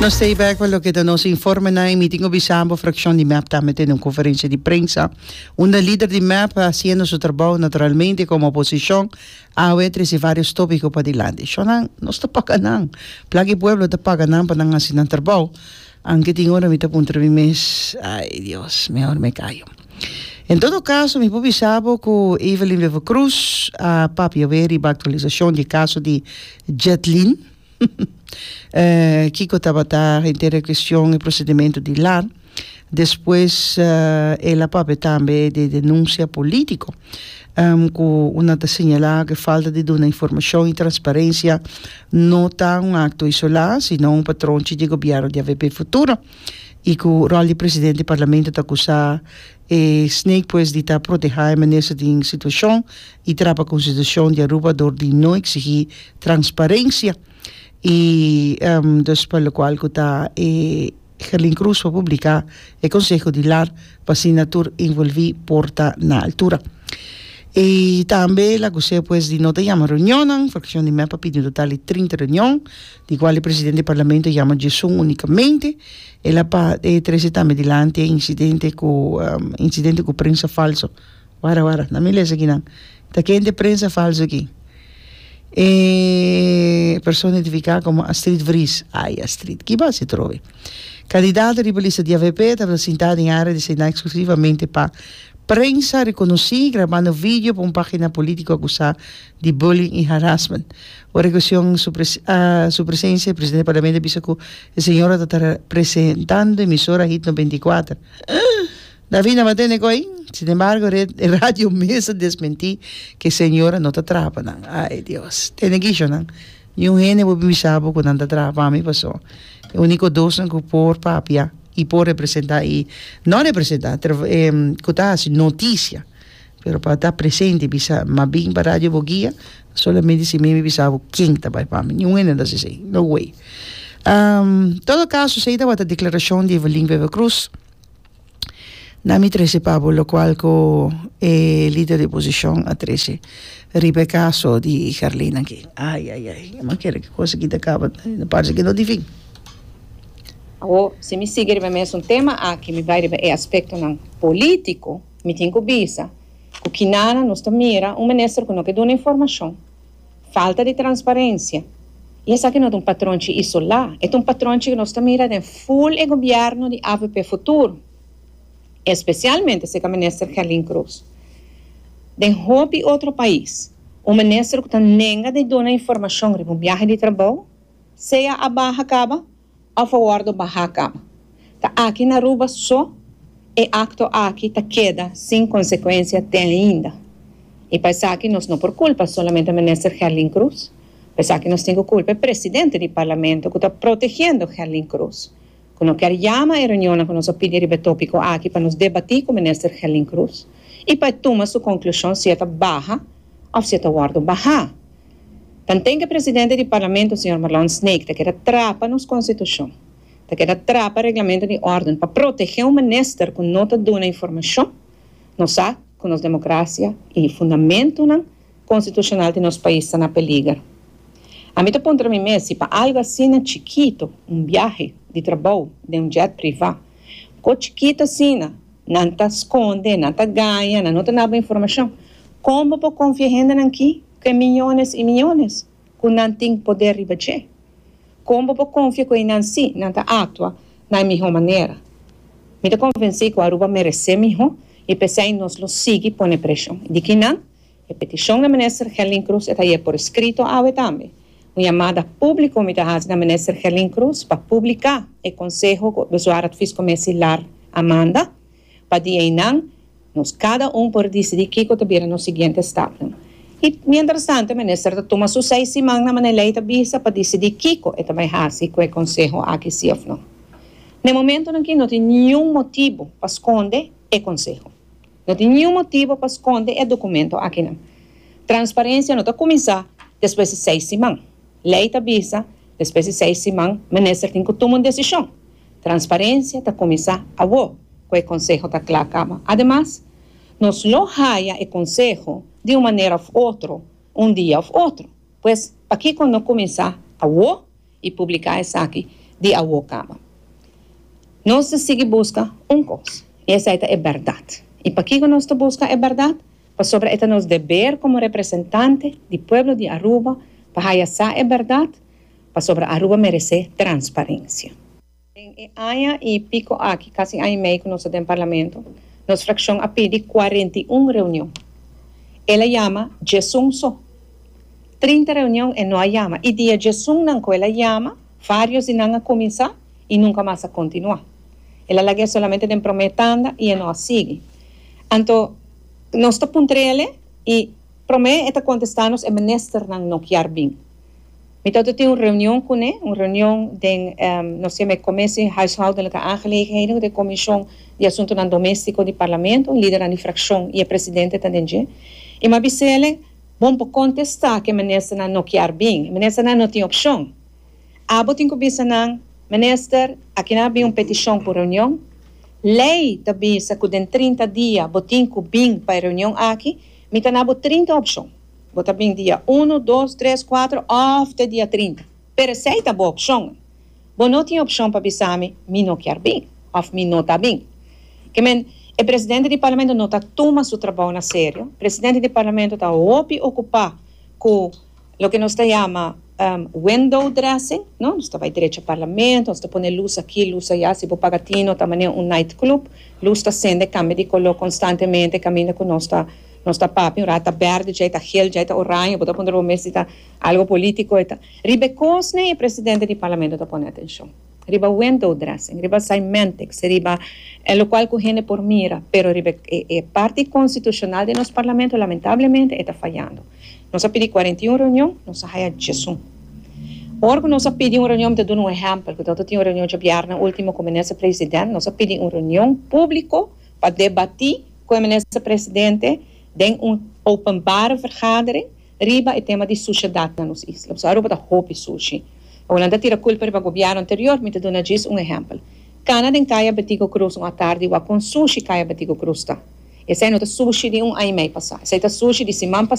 Nos ta bek pa loke ta nos informenan y mi tin cu bisa bo fraccion di mep tambe tene un conferencia di prensa unda lider di mep haciendo su trabou naturalmente como oposicion awe a trece varios topico padilanti. Shownan nos ta paga nan, placa y pueblo ta paga nan pa nan haci nan trabou anke tin ora mi ta puntra mi mes ay Dios mehor me callo. En todo caso mi por bisa bo cu Evelyn Wever-Croes a papia awe riba actualisacion di e caso di Jetlin. Kiko tabata henter e cuestion e procedimento di lar. Despues el a papia tambe di denuncia politico cu una ta señala cu e falta di duna informacion y transparencia no ta un acto isola sino un patronchi di gobierno di avp Futuro y cu rol di presidente di parlamento ta acusa e Snake pues di ta proteha e minister den situacion y trapa constitucion di Aruba door di no exigi transparencia y dus pa locual cu ta e Gerlin Cruz pa publica e conseho di lar pa asina tur envolvi por ta na altura. Y tambe la acuse pues di no ta yama reunionnan, fraccion di mep a pidi un total di 30 reunion, di cual e presidente di parlamento a yama diesun unicamente. El a pa e trece tambe dilanti e incidente cu incidente cu prensa falso. Wara wara, na mi lesa kinan. Ta ken de prensa falso aki? E persona identifica como Astrid Vries. Ay Astrid, ki basi trobe? Candidato riba lista di avp tabata sinta den area destina exclusivamente pa prensa reconoci grabando video pa un pagina politico acusa di bullying y harassment. Ora e cuestion su su presencia, e presidente di parlamento a bisa cu e señora ta ta presentando emisora Hit 94. David a tene koe. Sin embargo, e radio mes a desmentí ku e señora no ta traha pa nan. Ai, Dios. Tene kisho nan. Niun hende por bisa bo ku nan ta traha pa mi, paso e úniko dosnan ku por papia i por representá i no representá, ku ta hasi notisia, pero pa ta presente i bisa m'a bin pa Radio Boguia, solamente si mi mi bisa bo ken ta bai pa mi. Niun hende no ta hasi esei. No way. Todo kaso, esei tabata deklarashon di Evelyn Wever-Croes. Na mi trece pa bo locual cu e lider di oposicion a trece riba e caso di Gerlin aki. Ay ay ay, mi kere cu cos aki ta caba, no parce cu no tin fin. Awor, si mi sigui riba e mesun tema aki, mi bai riba e aspectonan politico, mi tin cu bisa cu kinana nos ta mira un minister cu no ke duna informacion. Falta di transparencia. Y esaki no ta un patronchi isolá, e ta un patronchi cu nos ta mira den full e gobierno di avp Futuro, especialmente cerca Minister Gerlin Croes. Den hopi otro pais, un minister cu ta nenga di duna informacion riba un biahe di trabou, sea a baha caba, of a wordo baha caba. Ta aki na Aruba so e acto aki ta keda sin consecuencia te ainda. Y pa esaki nos no por culpa solamente Minister Gerlin Croes, pa esaki nos tin cu culpa e Presidente di Parlamento cu ta protegiendo Gerlin Croes, cu no kier yama e reunionnan cu nos a pidi riba e topico aki pa nos debati cu Minister Gerlin Croes y pa e tuma su conclusion si e ta baha of si e ta wordo baha. Tanten ku e presidente di parlamento señor Marlon Snake ta keda trapa nos konstitushon, ta keda trapa reglamento di órden pa protegé un minister ku no ta duna informashon, nos sa ku nos demokrasia i fundamentunan konstitushonal di nos pais ta na peliger. Ami ta puntra mi mes si pa algu asina chikitu, un biahe di trabou den un jet privá, ko chikitu asina, Nan ta skonde, nan ta gaña, nan no ta naba informashon. Kon bo por konfia hendenan ki ku e miyones i miyones ku nan tin poder riba dje? Kon bo por konfia ku einan sí nan ta aktua na e mihó manera? Mi ta konvensí ku Aruba meresé mihó i p'esei nos lo sigui pone preshon. Di kinan? E petishon na Minister Gerlin Croes e ta haye por eskrito awe tambe. Un yamada públiko mi ta hasi na Minister Gerlin Croes pa publiká e konseho ku Bezwaar-Adviescommissie lar a manda, pa di einan nos kada un por disidí kiko ta bira nos siguiente stapnan. I mientrastanto e Minister ta tuma su seis siman na manera lei ta bisa pa disidí kiko e ta bai hasi ku e konseho aki sí òf no. Na e momentonan aki no tin niun motibu pa skonde e konseho. No tin niun motibo pa skonde e dokumento akinan. Transparensia no ta kuminsá despues di seis siman. Lei ta bisa despues di seis siman minister tin ku tuma un desishon. Transparensia ta kuminsá awo ku e konseho ta kla kaba. Ademas, nos lo haya e konseho di un manera òf otro un dia òf otro. Pues, pakiko no kuminsá awo i publiká esaki? di awo caba. Nos ta sigui busca un cos, y esey ta e berdad. Y pakico nos ta busca e berdad? Pasobra e ta nos deber como representante di pueblo di Aruba pa haya sa e berdad, pasobra Aruba merece transparencia. Den e aña y pico aki, casi aña y mei cu nos ta den Parlamento, nos fraccion a pidi 41 reunion. El a yama 11 so. 30 reunion e no a yama. Y dia 11 nan cu el a yama, varios di nan a cuminsa y nunca mas a continua. El a lag'e solamente den prome tanda y e no a sigui. Anto, nos ta puntr'ele y prome e ta contesta nos e ministernan no kier bin. Mi tabata tin un reunion cune, un reunion den, nos yama e Commissie Huishoudelijke Aangelegenheden, cu ta e comision di asuntonan domestico di Parlamento, lidernan di fraccion y e presidente ta den dje. Y mi a bis'ele, Bon por contesta cu e ministernan no kier bin. E ministernan no tin opcion. Abo tin cu bisa nan, Minister, akinan a bin un peticion cu reunion. Ley ta bisa cu den 30 dia bo tin cu bin pa e reunion aki. Mi ta na bo 30 opcion. Bo ta bin dia uno, dos, tres, cuatro of te dia 30. Pero esey ta bo opcionnan. Bo no tin opcion pa bisa mi, mi no kier bin of mi no ta bin. Ke men, e presidente di Parlamento no ta tuma su trabou na serio. Presidente di Parlamento ta hopi ocupa cu loke nos ta yama window dressing, no? Nos ta bay drecha Parlamento, nos ta pone luz aki, luz aya, si bo paga tino ta manera un night club, luz ta sende, cambia di color constantemente caminda cu nos ta nos ta papia, un rato ta berde, djey ta geel, djey ta oranje, bo ta puntra bo mes si ta algo politico e ta. Riba e cosnan e presidente di Parlamento ta pone atencion. Riba window dressing, riba cymentics, riba e locual cu hende por mira, pero riba e parti constitucional di nos Parlamento lamentablemente e ta fayando. Nos a pidi 41 reunion, nos a haya 11. Ora cu nos a pidi un reunion, mi ta duna un ehempel, cu ta tin un reunion djabièrnè ultimo cu Minister President, nos a pidi un reunion publico pa debati cu e Minister Presidente den un openbare vergadering riba e tema di sushedad na nos isla. Pasobra Aruba ta hopi sushi. Awor nan ta tira culpa riba gobierno anterior, mi ta duna djis un ehempel. Cana den Caya Betico Cruz un atardi wak con sushi Caya Betico Cruz ta. Esey no ta sushi di un aña y mei pasa, esey ta sushi di siman pasa.